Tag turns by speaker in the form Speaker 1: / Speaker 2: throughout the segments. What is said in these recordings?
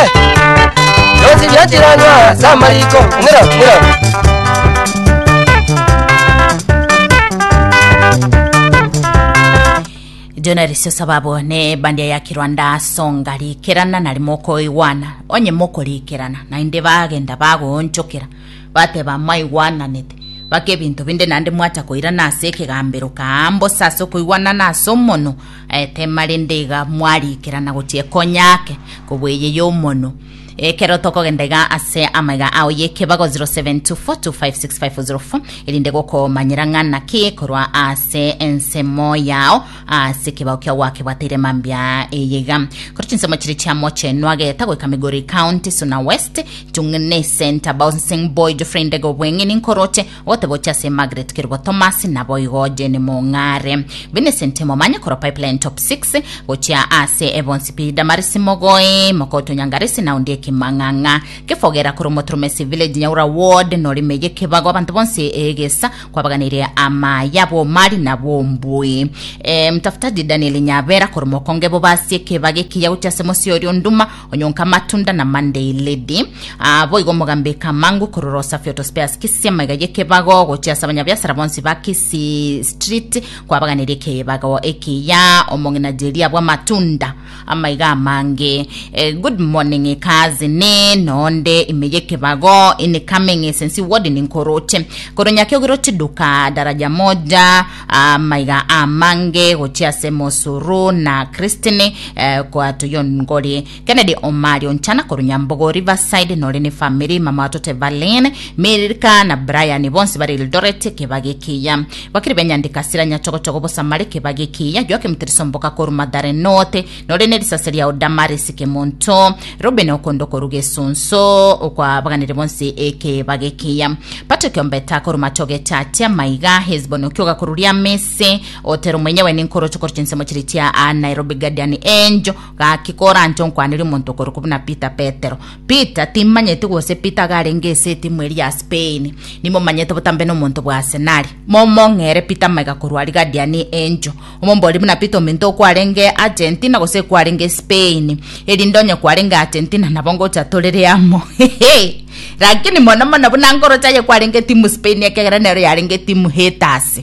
Speaker 1: Eh. Yonsi rianchiranwa ase amariko. Ng'ira, ng'ira.
Speaker 2: Jonarisio sababu ne bandia ya Kirwanda songa rikerana nari mokoigwana onye mokorikerana naende bagenda bagoonchokera bateba mwaigwananete baka ebinto binde naende mwacha koirana ase ekegambero kaa mbosa ase okoigwanana ase omonwa eh, tema rende iga mwarikerana gochia ekonya ake kobua eye y'omonwa Ekero tokogenda iga ase amaiga ao y'ekebago 0724256504 erinde gokomanyera ng'a naki korwa ase ensemo yao ase ekebago kiao gwakebwateire mambia eye iga. Korwa chinsemo chiria chia Mochenwa geta goika Migori County, Suna West, Chung'ne Center, Bouncing Boy, Geoffrey Ndege Obweng'eni Nkoroche, ogoteba oche ase Margaret Kerubo Thomas naboigo Jane Mong'are. Vincent Momanye korwa Pipeline Top 6 gochia ase ebonsi pi Damaris Mogoi Mokoto Nyangaresi na Ondieki Mang'ang'a Kefogera korwa Motromesi Village Nyaura Ward norime yekebago abanto bonsi egesa kwabaganirie amaya bomari na bombui e, mtafutaji Daniel Nyabera korwa Mokonge bobasi ekebago ekiya gochia ase Mosiori Onduma Onyonka Matunda na Monday Lady Ah, boigo omogambi Kamangu korwa Rosafi Auto Spares Kisii amaiga y'ekebago gochia ase abanyabiasara bonsi ba Kisii Street kwabaganirie ekebago ekiya omong'ina Jeria bw'amatunda amaiga amange eh, good morning cousin nonde ime y'ekebago incoming sensi ward ninkoroche korwa Nyakiogero chiduka daraja moja amaiga amange gochia ase Mosuru na Christine eh, kwa Toyongori Kennedy Omari Onchana korwa Nyambogo Riverside nore ne family mama watoto Evaline Milka na Brian bonsi bare Eldoret kebage ekiya bakiri benyandika sira nyachogochogo bosamare kebage ekiya Joakim Tirisomboka korwa Mathare North nore ne risase ria Damaris Kemonto Ruben Okondo korwa Gesunso okwabaganire bonsi ekebage ekiya Patrick Ombeta korwa Machoge Chache Maiga Hesbon Okioga korwa Riamese Otero mwenyewe ninkoroche korwa chinsemo chiria chia a Nairobi Guardian Angel Gaki koranche onkwanerie omonto okorokwa buna Peter Petero. Peter, timmanyeti gose Peter iga arenge ase etimu eria ya Spain. Nimomanyete botambe nomonto bwa Arsenali. Momong'ere Peter amaiga korwa aria Guardian Angel. Omomborie buna Peter ominto okwarenge Argentina gose ekwarenge Spain. Erinde onye kwarenge Argentina nabo ngocha torere amo. Lakini mono mono buna nkoroche aye kwarenge timu Spain ekiagera nero yarenge timu haters.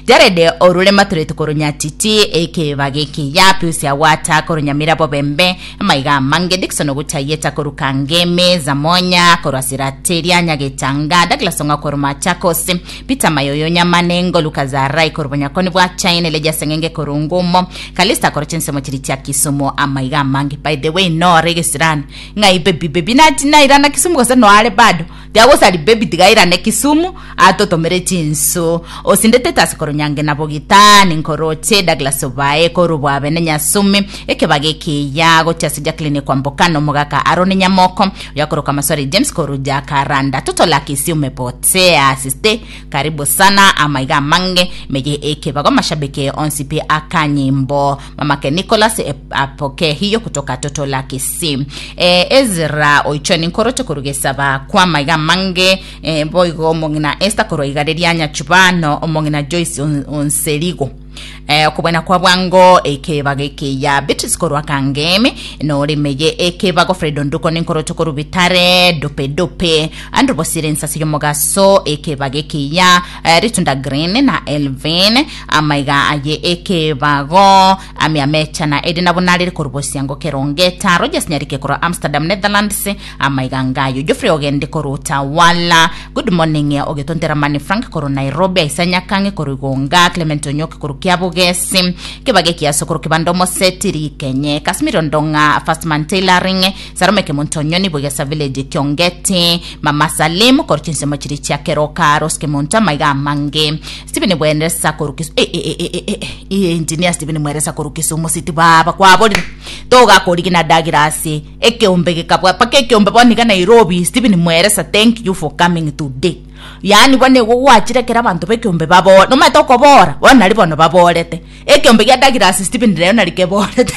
Speaker 2: Jared orure matureti korwa Nyatichi, ekeba gekiya, Pius Agwata korwa Nyamira Bobembe, amaiga amange, Dickson Oguchayeta korwa Kangemi, Zamonya korwa Sirateria Nyagetanga, Douglas Ong'o korwa Machakos, Peter Mayoyo Nyamanengo, Luka Zarai korwa Bonyakoni bwa China, Elijah Seng'enge korwa Ngumo, Kalista korwa chinsemo chiria chia Kisumu, amaiga amange. By the way, nore egesirani ng'ai baby baby nati nairana Kisumu gose noare bado Tiagosari baby tiga airane Kisumu atotomere chinsu. Osinde Titus korwa Nyange na Bogitani nkoroche Douglas Obae korwa Bwabene Nyasumi ekebago ekiya gochia ase Jacqueline Kwamboka na omogaka Aaron Nyamoko oyakoroka Maswari James korwa Jacaranda Toto la Kisii umepotea sister karibu sana amaiga amange meye ekebago mashabiki onsi pi akanyimbo mamake Nicholas e, apokee hiyo kutoka Toto la Kisii e, Ezra oichoni nkoroche korwa gesaba kwa maiga amange e, boigo omong'ina Esther korwa igare ria Nyachubano omong'ina Joyce On- Onserigo Eh, okobwena kwa bwango ekebago ekeya Beatrice korwa Kangemi norimeye ekebago Fred Onduko ninkoroche korwa Bitare dope dope Andrew Bosire ensase yomogaso ekebago ekeya eh, Ritunda Green na Elvin amaiga aye ekebago Ami amecha na Edina Bunariri korwa Bosiango Kerongeta, Rogers Nyarike korwa Amsterdam Netherlands, amaiga ngayo Geoffrey Ogende korwa Utawala, good morning Ogetontera Mani Frank korwa Nairobi, Aisa Nyakange korwa Igonga, Clement Onyoki korwa Kiabugesi, Kebage Kiaso korwa Kibanda Omoseti Rikenye, Casimiro Ndong'a First Man Tailoring, Sarome Kemonto Onyoni Bwegesa Village Kiongeti, Mama Salim korwa chinsemo chiria chia Keroka, Rose Kemonto amaiga amange, Stephen Bwenesa korwa Kisumu, eh, eh, eh, eh, eh, eh, engineer Stephen Mweresa korwa Kisumu City baba kwaborire togakorigina Douglas ekeombe gekabwa paka ekeombe bono iga Nairobi Stephen Mweresa thank you for coming today. Yaani bono igo gwachire ekero abanto b'ekeombe babore, nomanyete okobora, bono nari bono baborete. Ekeombe gia Douglas Stephen rero nari keborete.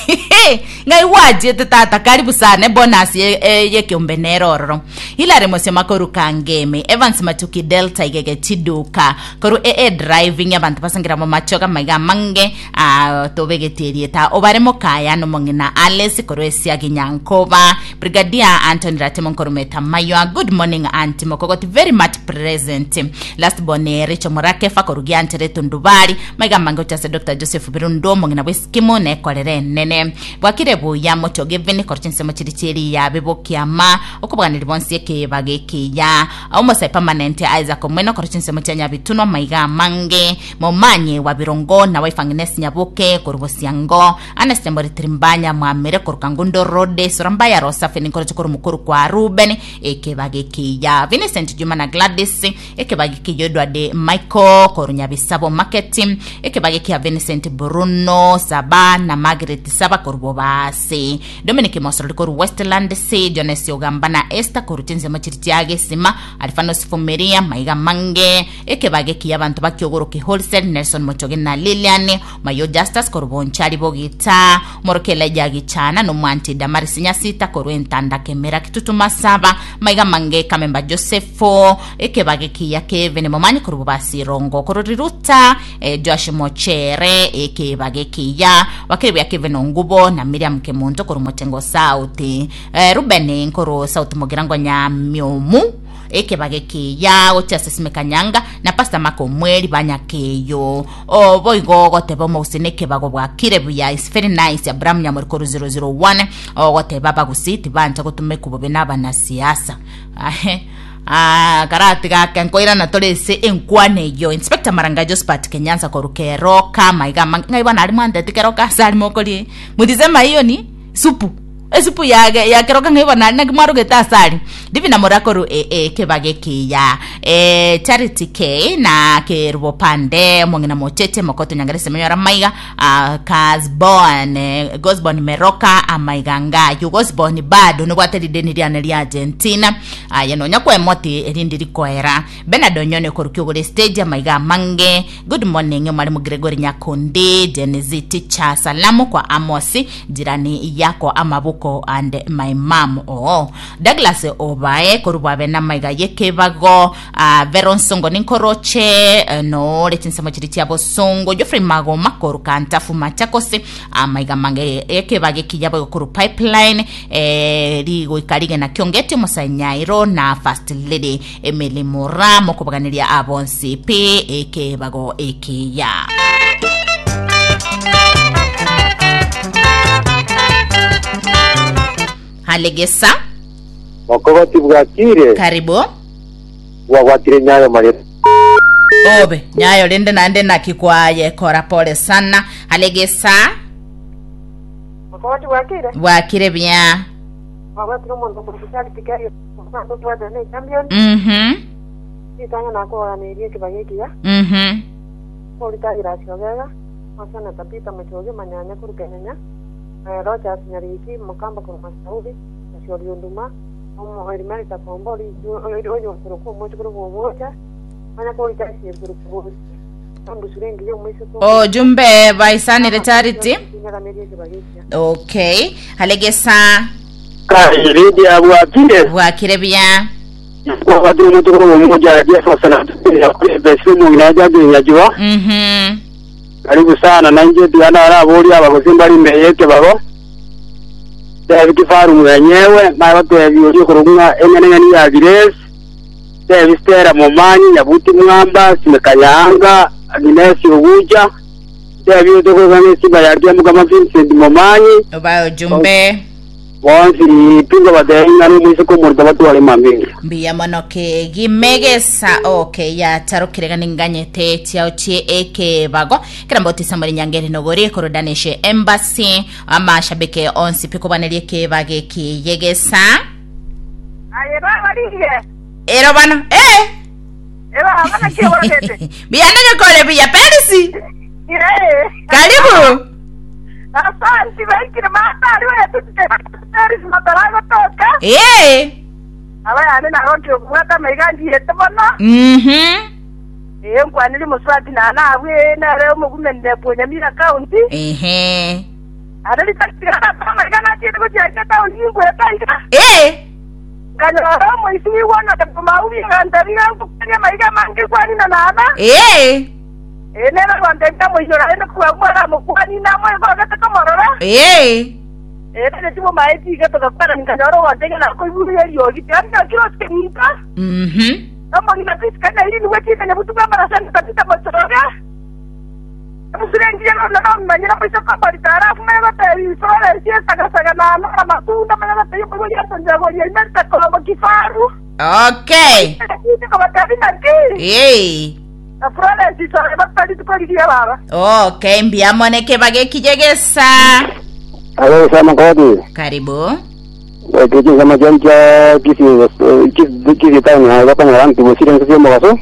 Speaker 2: Ng'ai gwachiete tata karibu sana ebonus ye eh, y'ekeombe nere ororo. Hilary Mosioma korwa Kangemi, Evans Matuki Delta Igege Chiduka, korwa AA Driving abanto basengera momachoga amaiga amange ah, tobegetie erieta obare mokaya nomong'ina Alice korwa Esiagi Nyankoba, Brigadier Anthony Ratemo Nkorometa Maywa, good morning Auntie Mokogoti very much present. Last born eh, Rachel Murakefa korwa Gianchere Tundubari, maiga amange gochia ase Dr. Joseph Birundo omong'ina bw'eskimu nekorere enene. Bwakire buya Mochoge Vini korwa chinsemo chiri chi'eriya bibokiama okobaganeri bonsi ekebago ekiya. Omosai permanent Isaac Omweno korwa chinsemo chia Nyabitunwa maiga amange. Momanye wa Birongo na wife Agnes Nyaboke korwa Bosiango. Ernest Moritiri Mbanya Mwamire korwa Kangundo Road Sura Mbaya Rosa Feni nkoroche korwa mokoro kwa Ruben ekebago ekiya. Vincent Juma na Gladys ekebago ekiya Edward Michael korwa Nyabisabo Market ekebago ekiya Vincent Bruno Saba na Margaret Saba korwa Bobasi. Dominic Mosorori korwa Westland C Jones Ogamba na Esther korwa chinsemo chiri chia Gesima Alfanos Fumiria Maiga Mange ekebago ekiya abanto bakiogoroke Wholesale Nelson Mochoge na Lilian Mayo Justus korwa Bonchari Bogita Morokia Elijah Gichana nomwanchi Damaris Nyasita korwa Entanda Kemera Kitutu Masaba Maiga Mange Kamemba Joseph ekebago ekiya Kevin Momanyi korwa Bobasi Rongo korwa Riruta eh, Joash Mochere ekebago ekiya Wakiri buya Kevin Ongubo na Miriam Kemunto korwa Mochengo South eh, Ruben korwa South Mugirango Nyamiomu ekebago ekiya gochia ase Simeka Nyanga na Pastor Mark Omweri Banyakeyo O boigo ogoteba omogusii nekebago bwakire buya is very nice Abraham Nyamori korwa 001 ogoteba abagusii tibancha gotumekwa bobe na abanasiasa Ahe Ah, karatiga ake nkoirana tore ase enkwana eyio Inspector Maranga Josephat Kenyansa korwa Keroka maiga amange ng'ai bono aria mwanteti Keroka ase aria mokorie mutisema hiyo ni supu esupu yage ya Keroka ng'ai bono aria naki mwarogete ase aria Divina Morakoru e e kebaga ekiya e Charity K na Kerubo Pande omong'ina mocheche mokoto nyangare semenyora maiga ah, Kasbon eh, Gosbon Meroka amaiga ngayu Gosbon bado nobwate rideni riane ria Argentina aye nonya kwemoti erindi rikoera Bernard Onyoni okorukia ogore stage amaiga amange Good morning mwalimu Gregory Nyakundi Gen Z teacher salamu kwa Amosi jirani yako amabuko and my mom oo Douglas obae korwa bwabe namaiga yekebago ah, Vero Nsongo ninkoroche eh, noore chinsemo chiri chia bosongo Geoffrey Magoma korwa Kantafu Machakos amaiga mange ekebago ekiya boigo korwa Pipeline eh, rigoika rigena kiongeti omosae Nyairo na First Lady Emily Mura mokobaganiria abonsi pi ekebago ekiya. Halegesa
Speaker 3: Mokogoti bwakire,
Speaker 2: karibu
Speaker 3: bwagwatire nyayo maria.
Speaker 2: obe nyayo rende naende naki kwaye kora pole sana halegesa
Speaker 4: Mokogoti bwakire,
Speaker 2: bwakire buya
Speaker 4: bwagwatire omonto okorokwa Charity Kerio, omonto otwatire ne champion, ritang'ani nakoganeria ekebago ekiya, korita Irasi Ogega, Oseneta Peter Mochoge, Manyanya korwa Kenyenya, Rogers Nyariki, Mokamba korwa Masauri, Mosiori Onduma, omo Elimelita Kombo, oyo okorokwa omochokoro bw'omocha, manya korita Esieburu Kobosi, Embusuro engiya omoiseke omuya.
Speaker 2: Ojumbe baisanire Charity.
Speaker 4: Tinyaganeria ekebago ekiya.
Speaker 2: Okay. Halegesa
Speaker 3: Kai Lydia bwakire,
Speaker 2: bwakire buya.
Speaker 3: bwagwatire omochokoro bw'omocha Jefferson Atubiri, omong'ina Jacqueline Nyachua. Karibu sana na inche tiga naraborie abagosi mbare ime y'ekebago, tebi kifaru mwenyewe, naye batebi oria okorokwa ng'a eng'enang'eni ya Grace, tebi Stella Momanyi, Nyabuti Mwamba, Simeka Nyaanga, Agnes Ogucha, tebi otokorokwa ng'a esimba ya Kiamukama Vincent Momanyi,
Speaker 2: Obae ojumbe.
Speaker 3: Bonsi tinkobateebia ng'a nomoiseke omorito batware mambia.
Speaker 2: Mbuya mono kegima egesa okay yatarokire gani nganyete chiao chie ekebago kera mbotisa muri nyangeri nogori korwa Danish Embassy amashabike onsi pi kobaneria ekebago eki yegesa
Speaker 4: Aye baba rigie.
Speaker 2: ero bano eh
Speaker 4: Eh baba naki oborogete.
Speaker 2: buya nonyokore buya Perisi
Speaker 4: Eh.
Speaker 2: karibu
Speaker 4: Asanti baikire matari wetu Paris mataragotoka.
Speaker 2: eh
Speaker 4: Aba yane nagokire kobwata amaiga anchiete mono. Ee, nkwanire mosubati nane abwo, ee, nere omogumenire bw'Onyamira County.
Speaker 2: Ehe.
Speaker 4: Are ritari ase amaiga nachiete gochia ase etaoni ingwete aiga.
Speaker 2: Ee.
Speaker 4: Nkanyora omoisia oigwanete komaubi aganteebia ng'a nkokwanie amaiga amange nkwanine nana.
Speaker 2: Ee.
Speaker 4: Ee, nere agantebia amoinyore aende korwa agwo aramokwanie namoegogete komorora.
Speaker 2: Ee.
Speaker 4: Ee, nere timomaeti iga togakwana nkanyora ogantebia nakoigure eriogi, tiga nchakire otenka. Omong'ina Priska na Irini bw'eching'enye botuko amarasa na Tabita mochoroge. Emusure engiya nonya nomanyire moise komorita alafu manye gotebia Florence esagasaga na anora matunda manye gotebia omoibori atonjagoria Imelda Kolombo kifaru.
Speaker 2: Okay.
Speaker 4: Lakini kobatebia naki
Speaker 2: Ee.
Speaker 4: na Florence isore bata rituko rigiya baba.
Speaker 2: Okay, mbuya mono ekebago ekije gesa.
Speaker 3: Alo sana kodi.
Speaker 2: Karibu.
Speaker 3: Goika chinsemo chiane chia Kisii Kisii Kisii town aye bakonyora nti gosire ense chi'omogaso,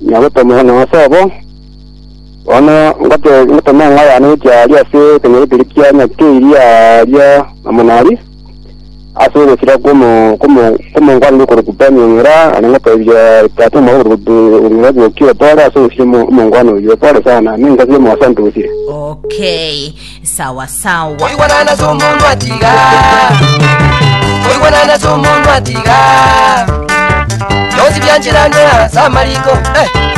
Speaker 3: nyagotoma na ase obo. Bono ngote ngotoma eng'ao yane gochia aria ase ekenyoro keria kia Nyakeiri aria na Monari, ase ogosira kw'omo kw'omo kw'omongwana okorokwa Ben Ong'era, naende ngotebia tata omwabo okorokwa Ong'era Bokio pole ase ogosira omo omongwana oyio, pole sana, nenka chi'omogaso nti gosire.
Speaker 2: Okay, sawa sawa.
Speaker 1: Koigwanana ase omonto atiga Koigwanana ase omonto atiga Bionsi biancheranwe ase amariko eh.